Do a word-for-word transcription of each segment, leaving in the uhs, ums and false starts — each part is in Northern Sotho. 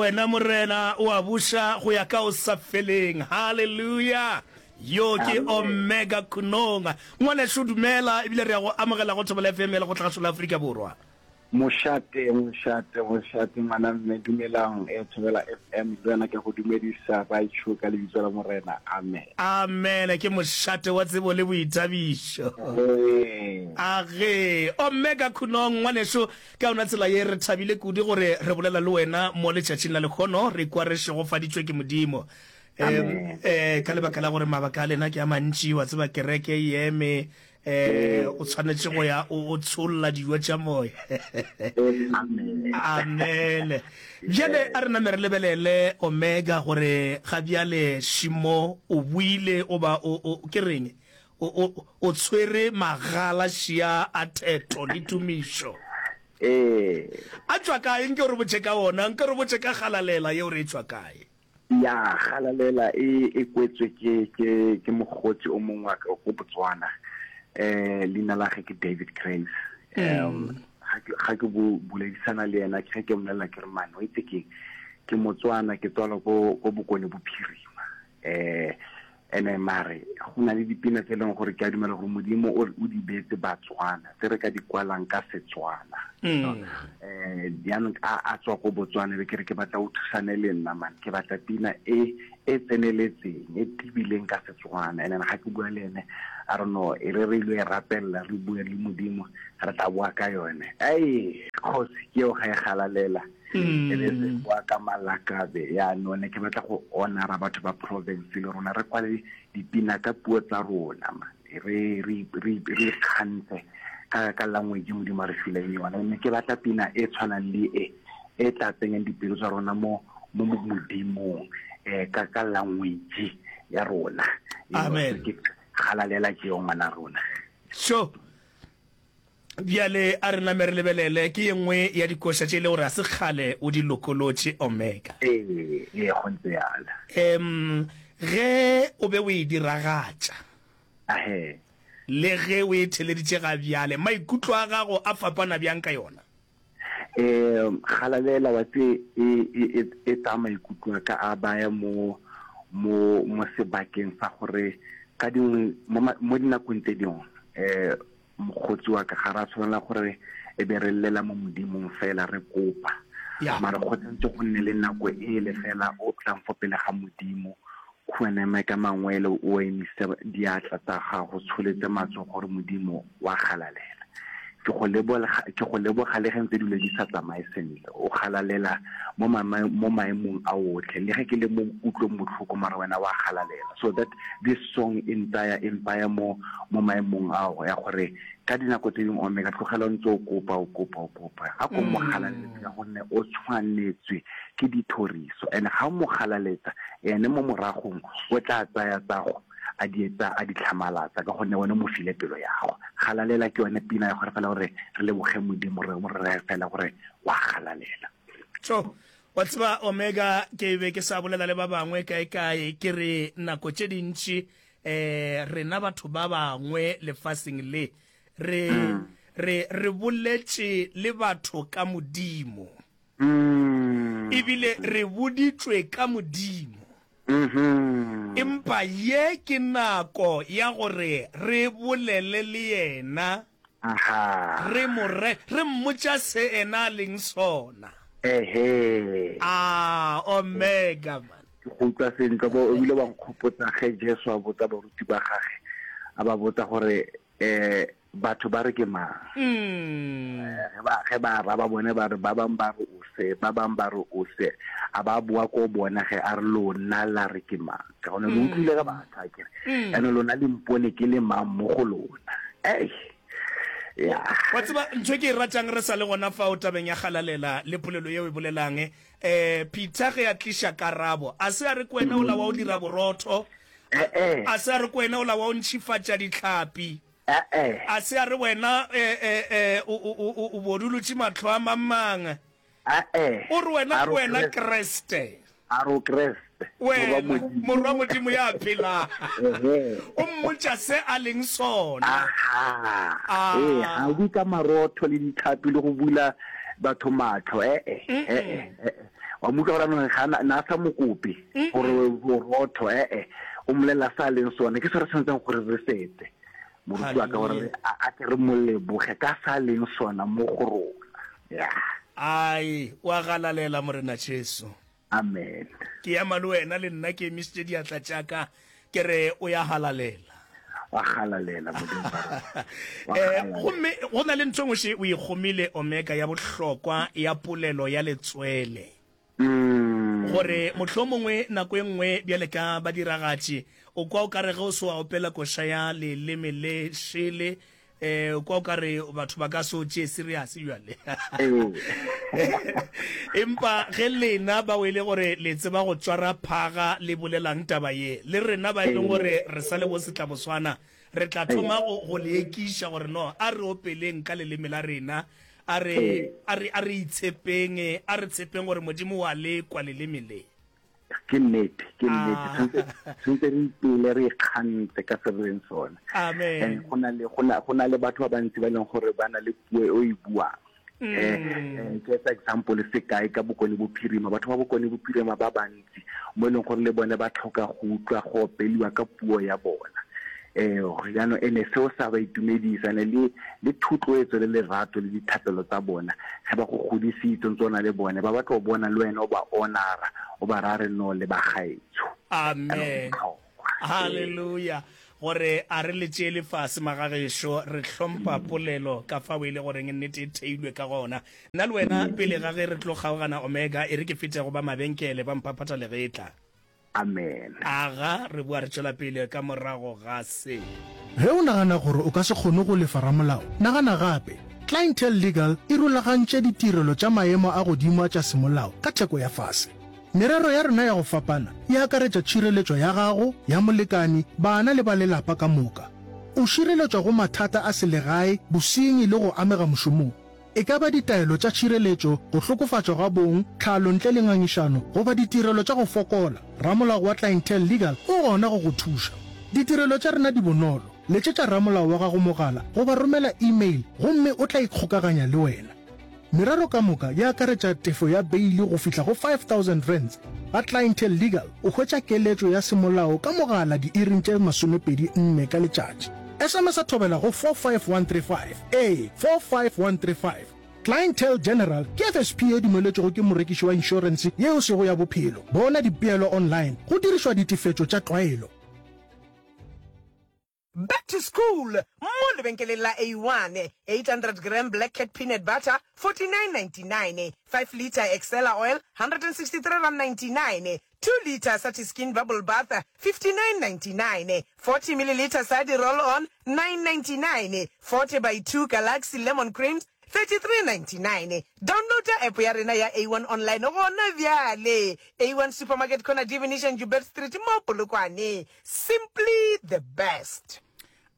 Wena Morena o a buša go ya ka o sa feleng. Haleluya! Yo ke Omega Khunong. Ngwanešu dumela, ebile re ya go amogela go Thobela F M ya Lekgotlagašo la Afrika Borwa. Mošate, mošate, mošate, ngwana mme, dumelang, eh, Thobela F M, le wena ke a go dumedisa, baetsho, ka lebitso la Morena, amen. Amen, ke mošate wa tsebo le boithabišo. Ee. Age, Omega Khunong, ngwanešu, Ka yona tsela ye, re thabile kudu gore re bolela le wena mo letšatšing la lehono. Re ikwa re šegofaditšwe ke Modimo. Um, eh, ka lebaka la gore mabaka a lena ke a mantši, wa tseba kereke e eme, eh, o tshwanetše go ya o, o tsholla dijo tša moya. Amen. Amen. Bjale a re name re lebelele Omega gore ga bjale Šimo o buile goba o, o, ke reng? O, o, o tshwere magala šia a theto le tumišo. Ee. A tšwa kae? Nke o re botše ka ona. Nke o re botše ka Galalela yeo re e tšwa kae? Ya, Galalela e, e kwetswe ke, ke, ke mokgotsi o mongwe wa ka ko Botswana. Eh, leina la ge ke David Grace. Um, ga ke, ga ke bo boledisana le yena, ke ge ke mmolelela ke re, man, o itse keng? Ke Motswana, ke tswalwa ko, ko Bokone Bophirima. Eh, ene mare go na le dipina tse e leng gore ke a dumela gore Modimo o o di beetse Batswana tse re ka di kwalang ka Setswana. Mm. Eh, jaanong a a tswa ko Botswana be ke re ke batla o thusane le nna man, ke batla pina e e tseneletseng e tibileng ka Setswana. And then ga ke bua le ene a re no e re re ile e rapelela re bue le Modimo re tla boa ka yone. Ei kgosi ke eo ga e galalela. E be se boa ka malakabe. Yaanong ne ke batla go honora batho ba province le rona re kwale dipina ka puo tsa rona man. Re re re re ikgantshe ka ka language Modimo a re fileng yona. Ne ke batla pina e tshwanang le e e tla tsenyang dipelo tsa rona mo mo Modimong eh ka ka language ya rona. Amen. Ke galalela ke yo ngwana rona. Sure. Bjale a re name re lebelele, ke ye nngwe ya dikoša tše e le gore ga se kgale o di lokolotše, Omega. Ee, ee, go ntse bjalo. Em, ge o be o e diragatša, Ahee. le ge o e theleditše ga bjale, maikutlo a gago a fapana bjang ka yona? Em, galalela, wa tse, e, e, e, e tsaya maikutlo a ka a baya mo, mo, mo sebakeng sa gore ka dingwe, mo, mo dinakong tse dingwe, eh, Mokgotsi wa ka, ga ra tshwanela gore e be re llela mo Modimong fela re kopa. Ya. Mara go tshwanetse go nne le nako ele fela o tlang fo pele ga Modimo, khuname ka mangwele o emise diatla tsa gago, tsholetse matsogo gore Modimo wa galalela. Ke go leboga, ke go leboga le ge ntse dilo di sa tsamaye sentle. O galalela mo mo maemong a otlhe. Le ge ke le mo kutlong botlhoko mara wena wa galalela. So that this song e ntsaya e mpaya mo mo maemong ao ya gore ka dinako tse dingwe Omega tlogela o ntse o kopa o kopa o kopa. A ko mo galaletse ka gonne o tshwanetswe ke dithoriso. And ga o mo galaletsa ene mo moragong o tla tsaya tsago a di etsa a di tlhamalatsa ka gonne wena o mo file pelo ya gago. Galalela ke yone pina ya gore fela gore re leboge Modimo re mo reye fela gore wa galalela. Tjo, wa tseba Omega ke be ke sa bolela le ba bangwe kae kae ke re nako tše dintši eh rena batho ba bangwe lefaseng le re re re boletše le batho ka Modimo. Ebile re boditšwe ka Modimo. Empa ye ke nako ya gore re bolele le yena, re mo re, re mmotša se ena a leng sona. Ah, Omega, man. Ke go utlwa sentle, bo, o bile wa nkgopotsa ge Jesu a botsa baruti ba gage, a ba botsa gore, eh, batho ba re ke mang? Ge ba, ge ba araba bone ba re, ba bang ba re o se, ba bang ba re o se. A ba boa ko bona ge, a re, Lona la re ke mang? Ka gone lo utlwile ka batho, a ke re. Ene lona le mpone ke le mang mo go lona? Ei, ya. Wa tseba, ntho e ke e ratang re sa le gona fao tabeng ya Galalela le polelo yeo e bolelang, eh, Peter ge a tliša karabo, a se a re ke wena ola wa o dira borotho, A se a re ke wena ola wa o ntšhifatša dihlapi? A se a re wena o bodulotše mahlo a mang-mang? O re wena ke wena Kriste. A re o Kriste, Wena Morwa Modimo ya phelago. O mmotša se a leng sona. Ee, ga o bue ka marotho le dihlapi le go bula batho mahlo. E-e, e-e, e-e. Wa mo utlwa gore anong ga na na sa mo kope gore borotho ee o mmolelela sa leng sone ke se re tshwanetseng gore re setse moruti wa ka gore a ke re mo leboge ka sa leng sona mo go rona ya ai wa galalela morena Jesu. Amen. Ke ema le wena le nna ke emišitše diatla tša ka ke re o ya halalela. Wa galalela modimo wa rona. Eh gomme go na le ntho engwe še o ikgomile Omega ya bohlokwa ya polelo ya letswele. Mm. Gore mohlomongwe nako e nngwe bjale ka badiragatši o kwa o ka re ge o se wa opela koša ya leleme le šele eh o kwa o ka re batho ba ka se o tšee serious bjale. Empa ge lena bao e le gore le tseba go tšwara phaga le bolelang taba ye le rena ba e leng gore re sa le bo setlaboswana re tla thoma go go le ekiša gore no a re opeleng ka leleme la rena a re a re a re itshepeng a re tshepeng gore Modimo wa le kwa leleme le. Ke nnete, ke nnete. Tshwanetse tshwanetse re ipele re ikgantse ka se re leng sona. Amen. Go na le go na go na le batho ba bantsi ba e leng gore ba na le puo e o e buang. Eh ke etsa example sekai ka Bokone Bophirima, batho ba Bokone Bophirima ba bantsi mo e leng gore le bone ba tlhoka go utlwa go opeliwa ka puo ya bona. Eh jaanong ene seo sa ba itumedisa ne le le thotloetso le lerato le dithapelo tsa bona ge ba go godisitse ntse o na le bone ba batla go bona le wena o ba honora o ba raya re no le ba gaetsho. Amen. Hallelujah. Gore a re le tšeele fase magagešo, re hlompha polelo ka fao e le goreng nnete e theilwe ka gona. Nna le wena pele ga ge re tlo kgaogana Omega, e re ke fete go ba mabenkele ba mphaphatha legetla. Amen. Aga, re boa re tšwela pele ka morago ga se. Ge o nagana gore o ka se kgone go lefa ramolao, nagana gape. Clientele Legal e rulagantše ditirelo tša maemo a godimo a tša semolao ka theko ya fase. Merero ya rena ya go fapana e akaretša tšhireletšo ya gago, ya molekani, bana le ba lelapa ka moka. O šireletšwa go mathata a selegae, bosenyi le go amega mošomong. E ka ba ditaelo tša tšhireletšo, go hlokofatšwa ga bong, tlhalo ntle le ngangišano, goba ditirelo tša go fokola, ramolao wa Clientele Legal o gona go go thuša. Ditirelo tša rena di bonolo. Letšetša ramolao wa gago mogala goba romela email gomme o tla ikgokaganya le wena. Merero ka moka e akaretša tefo ya beili go fihla go five thousand rands. Ga Clientele Legal o hwetša keletšo ya semolao ka mogala diiring tše masomepedi nne ka letšatši. S M S a thobela go four five one three five, ee, four five one three five. Clientele General ke F S P e dumeletšwego ke morekiši wa inšorense ye e sego ya bophelo. Bona dipeelo online go dirišwa ditefetšo tša tlwaelo. Back to school mo lebenkeleng la A one, eight hundred gram Black Cat peanut butter, forty-nine ninety-nine, five litre Excella oil, hundred and sixty-three rand ninety-nine, two litre Satiskin bubble bath, fifty-nine ninety-nine, forty millilitre Sadi roll-on, nine ninety-nine, forty by two Galaxy lemon creams, thirty-three ninety-nine. Downloada app ya rena ya A one online gona bjale. A one Supermarket, corner Divination, Joubert Street mo Polokwane. Simply the best.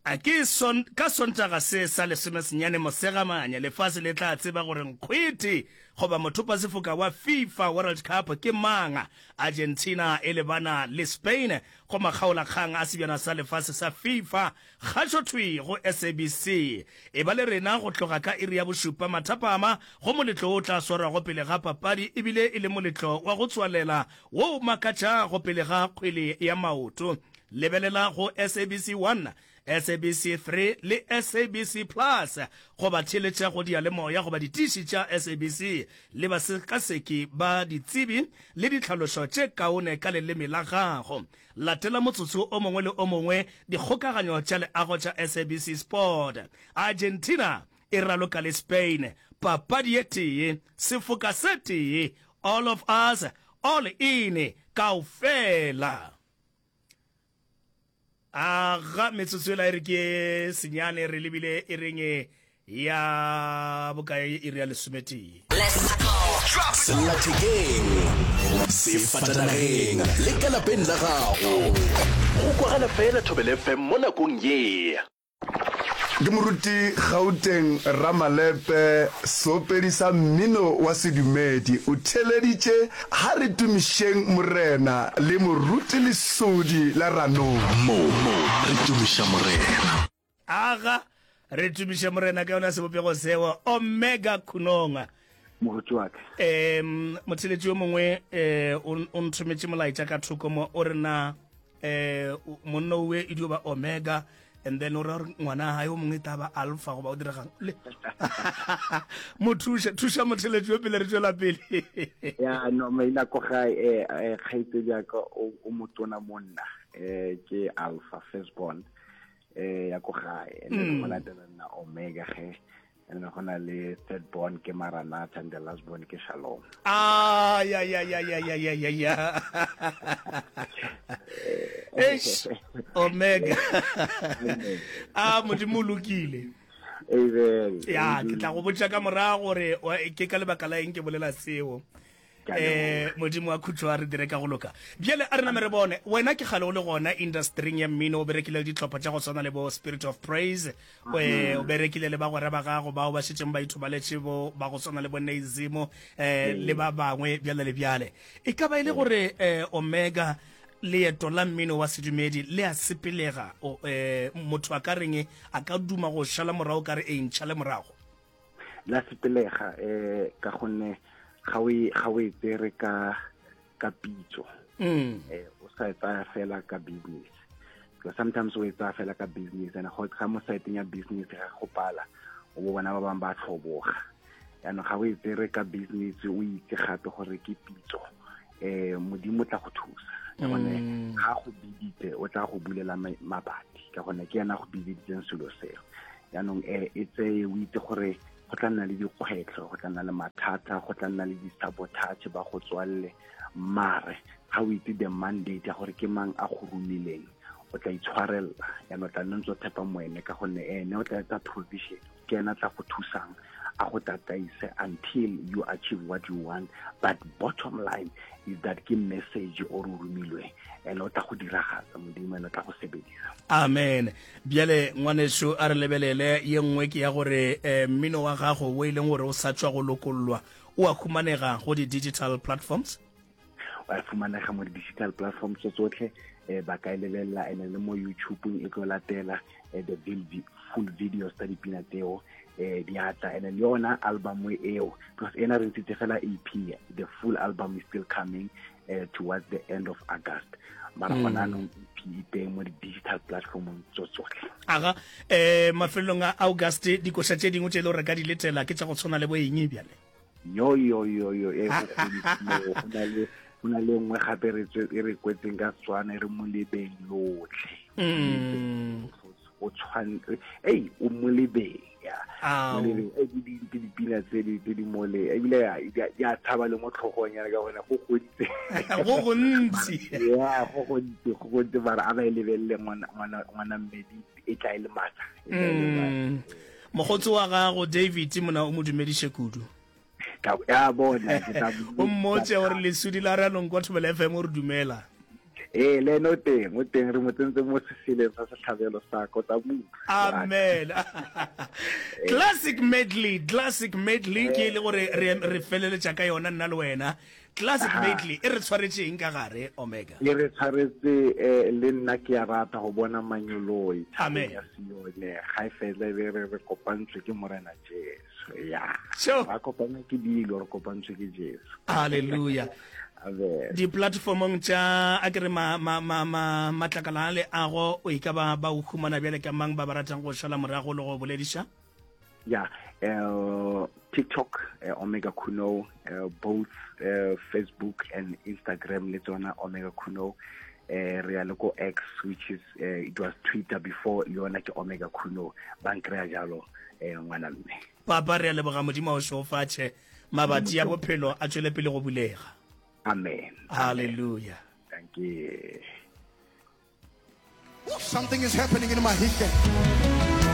A ke son, ka Sontaga se sa lesomesenyane Mosegamanya, lefase le tla tseba gore nkgwete goba mothopasefoka wa FIFA World Cup ke mang. Argentina e lebana le Spain go makgaolakgang a sebjana sa lefase sa FIFA kgašothwi go S A B C. E ba le rena go tloga ka iri ya bošupa mathapama go moletlo wo o tla swarwago pele ga papadi ebile e le moletlo wa go tswalela wo o makatšago pele ga kgwele ya maoto. Lebelela go S A B C one, S A B C three le S A B C Plus goba theeletša go diyalemoya goba ditiši tša S A B C le basekaseki ba ditsebi le ditlhalošo tše kaone ka leleme la gago. Latela motsotso o mongwe le o mongwe dikgokaganyo tša leago tša S A B C Sport. Argentina e raloka le Spain, papadi ye tee, sefoka se tee, all of us, all in, kaofela. Aga metsotso ela e re ke senyane re lebile e reng ya bokae iri ya lesometee. Sellathekeng, sefatanageng le ka lapeng la gago. Go kwagala fela Thobela F M mo nakong ye. Ke moruti Gauteng Ramalepe, seopedi sa mmino wa sedumedi, o theeleditše Ha re tumišeng Morena le Moruti Lesodi la Ranong. Mo re tumiša Morena. Aga, re tumiše Morena ka yona sebopego seo, Omega Khunong. Moruti wa ka. Um motheletši yo mongwe um o nthometše molaetša ka thoko mo, o re na um monna owe e dio ba Omega, and then o ra gore ngwana gae o mongwe e tla ba Alpha, goba o diregang le mo thuša, thuša motheletši yo pele re tšwela pele. Ya no, maina ko gae, eh, eh, kgaitsedi ya ka o, o motona monna, eh, ke Alpha, first born, eh, ya ko gae, and then go latela nna Omega ge, and then go na le third born ke Maranatha, and the last born ke Shalom. Ah, ya, ya, ya, ya, ya, ya, ya, ya. Eish, Omega. A Modimo o lokile. Amen. Ya, ke tla go botša ka morago gore wa- ke ka lebaka la eng ke bolela seo. Ke a Eh, leboga. Modimo wa khutšo a re dire ka go loka. Bjale a re name re bone, wena ke kgale o le gona industryng ya mmino, o berekile le dihlopha tša go swana le bo Spirit of Praise, o, eh, o berekile le bagwera ba gago bao ba šetšeng ba ithobaletše bo ba go swana le bo Neizimo, eh, le ba bangwe bjale le bjale. E ka ba e le gore, eh, Omega, leeto la mmino wa sedumedi le a sepelega? O, eh, motho a ka reng a ka duma go šala morago ka re e ntšhale morago? La sepelega, eh, ka gonne ga o e, ga o e tsere ka, ka pitso. Mm. Eh, o sa e tsaya fela ka business. Because sometimes o e tsaya fela ka business, and go ga mo site ya business ga go pala, o bo bona ba bang ba tlhoboga. Jaanong ga o e tsere ka business, o itse gape gore ke pitso, eh, Modimo o tla go thusa. Ka gonne Mm. ga go biditse, o tla go bulela ma-, mabati, ka gonne ke ena go biditseng selo seo. Jaanong, eh, e tseye o itse gore go tla nna le dikgwetlho, go tla nna le mathata, go tla nna le di-sabotage ba go tswalle, mare ga o itse the mandate ya gore ke mang a go romileng, o tla itshwarella. Jaanong o tla nna ntse o tshepa mo ene, ka gonne ene o tla etsa provision, ke ena a tla go thusang, a go tataise until you achieve what you want. But bottom line is that ke message o re o romilwe, and o tla go diragatsa Modimo, and o tla go sebedisa. Amen. Bjale ngwaneso, a re lebelele ye nngwe, ke ya gore, eh, mmino wa gago o e leng gore o sa tšwa go lokollwa, o a humanega go di-digital platforms? O a fumanega mo di-digital platforms tse tsotlhe, eh, ba ka e lebelela, and le mo YouTube-ong e tlo latela, eh, the vil-, full videos tsa dipina tseo, eh, di a tla. And le yona album eo, because ena re ntshitse fela E P, the full album is still coming, eh, towards the end of August. Mara Mm. gona anong E P e teng mo di-digital platformong tso tsotlhe. Aga, eh, mafelong a August, dikoša tše dingwe tše e le gore re ka di letela ke tša go tshwana le bo eng bjale? Yo, yo, yo, yo, e go godimo, go na le, go na le nngwe gape re tswe, e re kwetseng ka Setswana, e re molebeng lotlhe. Mm. O tshwan-, ei, o molebeng, ya. Ao. Molebeng, ei, di, di, di dipina tse di, tse di mole, ebile ya, di a, di a tshaba le mo tlhogong ya ka gone, go gontsi. Go gontsi. Ya, go gontsi, go gontsi, mara a ba e lebelele ngwana, ngwana, ngwana mmedi, e tla e le matla, e tla e le matla. Mm. Mokgotsi wa gago David mona o mo dumediše kudu. Ka, ya bona, ke tla mo O mmotse gore lesudi la Ranong kwa Thobela F M o re dumela. Ee, le ene o teng, o teng, re mo tsentse mo seseleng sa setlhabelo sa ka, o tla mo utlwa. Amen. Classic medley, classic medley ke e le gore re, re feleletša ka yona nna le wena. Classic Aha. medley e re tshwaretse eng ka gare, Omega? E re tshwaretse, eh, le nna ke a rata go bona manyoloi thabeng Amen. ya Sione. Ga e fela e be re, re kopantswe ke Morena Jesu. Ya. Sure. Ra kopana ke dilo, re kopantswe ke Jesu. Hallelujah. Amen. Di-platformong tša, a ke re ma, ma, ma, ma, matlakala a leago, o e ka ba, ba o humana bjale ka mang ba ba ratang go šala morago le go bolediša? Ya, eh, TikTok, eh, Omega Khunou, eh, both, eh, Facebook and Instagram le tsona Omega Khunou. Eh, re ya le ko X, which is, eh, it was Twitter before, le yona ke Omega Khunou. Ba nkry-a jalo, eh, ngwana mme. Papa, re a leboga, Modimo a o šegofatše, mabati a bophelo a tšwele pele go bulega. Amen. Hallelujah. Thank you. Something is happening in Mahikeng.